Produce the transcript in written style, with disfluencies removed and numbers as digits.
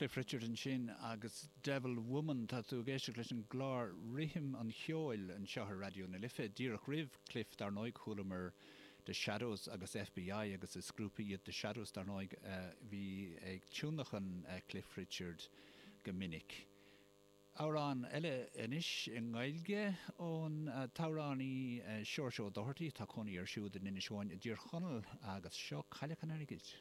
Cliff Richard ansin agus Devil Woman. Tá tú ag éisteacht leis an gclár Rithim an Cheoil anseo ar Raidió na Life. Díreach roimh Cliff, dar ndóigh, chualamar The Shadows agus FBI agus is grúpa iad The Shadows, dar ndóigh, a bhí ag tionlacan Cliff Richard go minic. Amhrán eile anois i nGaeilge ón t-amhránaí Seoirse Ó Dochartaigh, tá cónaí air siúd in Inis Eoghain i dTír Chonaill agus seo Cailleach an Airgid.